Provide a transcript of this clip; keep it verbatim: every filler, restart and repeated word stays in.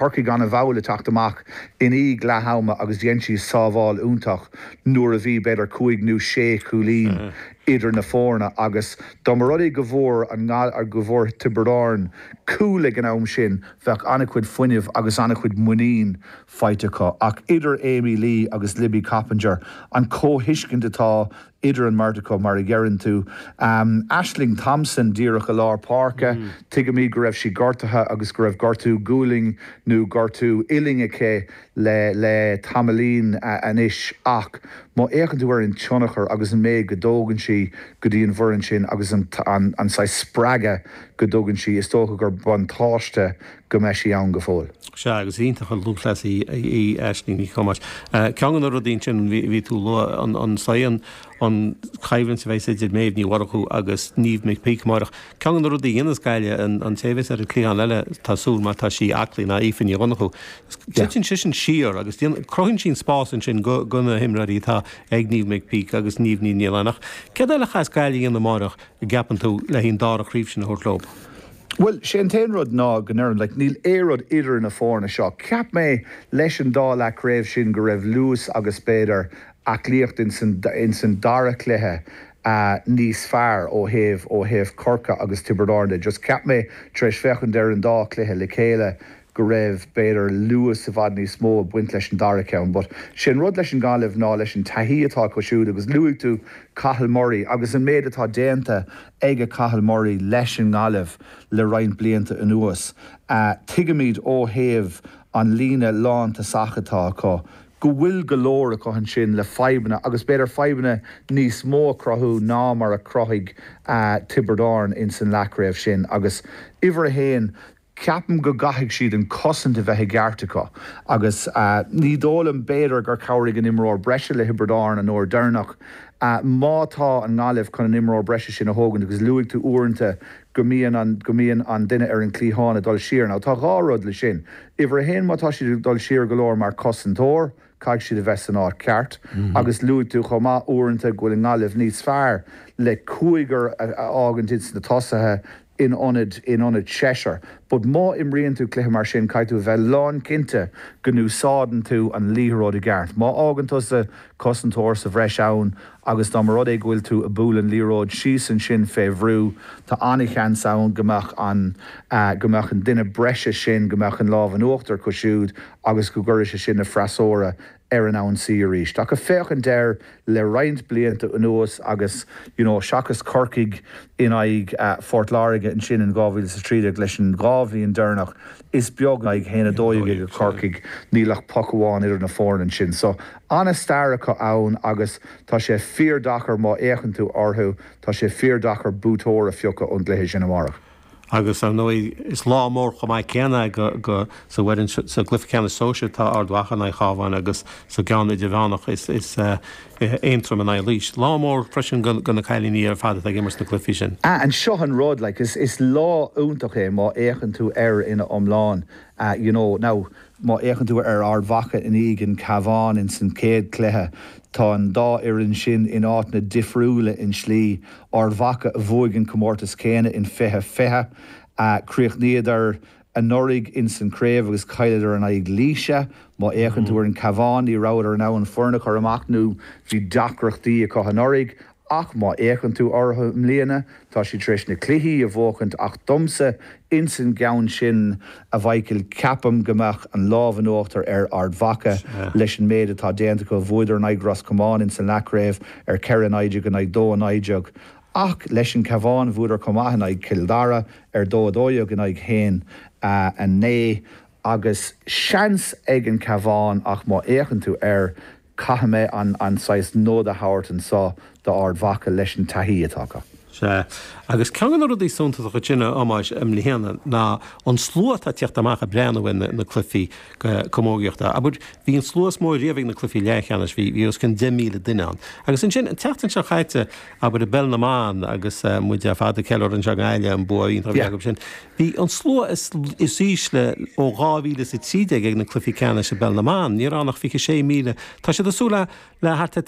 Corcaigh an-mhall ag teacht amach i ndiaidh leath ama agus dhein sí sábháil iontach nuair a bhí b'fhéidir cúig nó sé chúilín idir na foirne agus dá mba rud é go bhfuair an go bhfuair Tiobraid Árann cúl ag an am sin bheadh an-chuid fuinnimh agus an-chuid muinín faighte acu ach idir Amy Lee agus Libby Coppinger an comhthuiscint atá idir an mbeirt acu mar a deireann tú. Um, Ashling Thompson díreach i lár páirce, mm. tuigimid go raibh sí gortaithe agus go raibh gortú gualainn nó gortú uillinn aici le le tamaillín uh, anois ach má fhéachann tú ar an tionchar agus an méid go dtugann sí go dtí an bhfoireann sin agus an, an, an saghas spreagadh go dtugann sí is dócha gur buntáiste go mbeidh sí ann go fóill. Sea agus iontach an lúthchleasaí í Aisling Ní Thomáis. Ceann de na rudaí sin bhí tú lua an an an an choimhlint a bheas idir Méabh Ní Mhurchú agus Niamh McPeak amárach. Ceann de na rudaí ionas Gaillimh an an té a bheas ar an cliathán eile tá súil má tá sí aclaí ná Aoife Ní Dhonnchú. Titeann sí sin siar agus cruthaíonn sin spás ansin go go na himreoirí atá ag Niamh McPeak agus Niamh Ní Niallánach. Céard eile a chaithfeas Gaillimh a dhéanamh amárach a gceapann tú le haghaidh an dara craobh sin a thabhairt leo. Well sé an t-aon rud ná go ndeirim like, níl aon rud idir na foirne seo. Cheap mé leis an dá leathchraobh sin go raibh luas agus b'fhéidir aclaíocht in san, in san dara cluiche uh, níos fearr ó thaobh ó thaobh Corcaigh agus Tiobraid Árann. Just cheap mé tar éis féachaint ar an dá cluiche le chéile go raibh b'fhéidir luas i bhfad níos mó ag baint leis an dara ceann, but sin rud leis an Ghaillimh ná leis an taithí atá acu siúd agus luaigh tú Cathal Murray agus an méid atá déanta ag a Cathal Murray leis an nGaillimh le roinnt blianta anuas. Uh, tuigimid ó thaobh an líne lántosach atá acu. go bhfuil go leor acu ansin le fadhbanna agus b'fhéidir fadhbanna níos mó a chruthú ná mar a chruthaigh uh, Tiobraid Árann in san leathchraobh sin agus uimhir a haon ceapaim go gcaithfidh siad an cosaint a bheith i gceart acu agus uh, ní dóigh liom b'fhéidir gur chabhraigh an imreoir breise le Tiobraid Árann an uair dheireanach uh, má tá an Ghaillimh chun an imreoir breise sin a thógaint agus luaigh tú uaireanta go mbíonn an go mbíonn an duine ar an cliathán ag dul siar. Now tá dhá rud le sin. Uimhir a haon má tá siad dul siar go leor mar cosantóir, caithfidh siad a bheith san áit ceart mm -hmm. agus luaigh tú chomh maith uaireanta go bhfuil an Ghaillimh níos fearr le cúigear a fhágaint ins na tosaithe in ionad in ionad seisear. But má imríonn tú cluiche mar sin caithfidh tú bheith lánchinnte go n-úsáideann tú an liathróid i gceart. Má fhágann tusa cosantóir sa bhreis ann agus dá mba rud é go bhfuil tú ag bualadh an liathróid síos ansin fé bhrú tá an-sheans ann go mbeadh an uh, go mbeadh an duine breise sin go mbeadh an lámh in uachtar acu siúd agus go gcuirfidh sé sin na freasúra ar an ionsaí arís. Ach féachaint air le roinnt blianta anuas agus you know, seachas Corcaigh in aghaidh uh, Phort Láirge ansin in dhá mhíle sa tríd leis an dhá bhliain dheireanach is beag ag haon a dó dhéag ag Corcaigh níl ach poc amháin idir na foirne sin. So an-stair acu ann agus tá sé fíordeacair má fhéachann tú orthu tá sé fíordeacair buaiteoir a phiocadh ón gcluiche sin amárach. agus ar ndóigh is lá mór chomh maith céanna go go sa bhfoireann sa gcluiche ceannais sóisir tá Ard Mhacha in aghaidh Chabháin agus sa gceann idirmheánach is is uh, Aontroim in aghaidh Laois. Lá mór freisin go go na cailíní ar fad ag imirt na cluichí sin. Ah, an seo an rud like, is, is lá iontach é má fhéachann tú air ina iomlán. Uh, you know, now, má fhéachann tú ar Ard Mhacha in aghaidh an Cabhán in san céad cluiche tá an dá fhoireann sin in áiteanna difriúla in slí Ard Mhacha a bhuaigh an comórtas céanna in fiche fiche uh, críochnaíodar anuraidh in san craobh agus chailleadar in aghaidh Laoise má fhéachann tú ar an Cabhán ní rabhadar in ann foireann a chur amach nó bhí deacrachtaí acu anuraidh ach má fhéachann tú orthu i mbliana tá siad tar éis na cluichí a bhuachaint ach domsa insan gceann sin a Mhichael ceapaim go mbeadh an lámh in uachtar ar Ard Mhacha leis an méid atá déanta acu bhuadar in aghaidh Ros Comáin in san leathchraobh ar ceithre naoi déag in aghaidh dó naoi déag. Ach leis an Cabhán bhuadar chomh maith in aghaidh Chill Dara ar dó dó dhéag in aghaidh haon a naoi agus seans ag an Cabhán ach má fhéachann tú air caithfidh mé an an saghas nod a thabhairt anseo d'Ard Mhacha leis an taithí atá acu. Sea, agus ceann de na rudaí suntasacha sin a Thomáis i mbliana ná an slua atá ag teacht amach ag breathnú ar na cluichí camógaíochta. Abair bhí an slua is mó riamh ag na cluichí leathcheannais, bhí bhí os cionn deich míle duine ann. Agus ansin an tseachtain seo caite abair i bpeil na mban agus uh, muid ar fad ag ceiliúradh anseo i nGaillimh an bua iontach a bhí acu sin. Bhí an slua is, is ísle ó dhá mhíle is a trí déag ag na cluichí ceannais i bpeil na mban, ní raibh ach fiche sé míle. Tá siad ag súil le le thart ar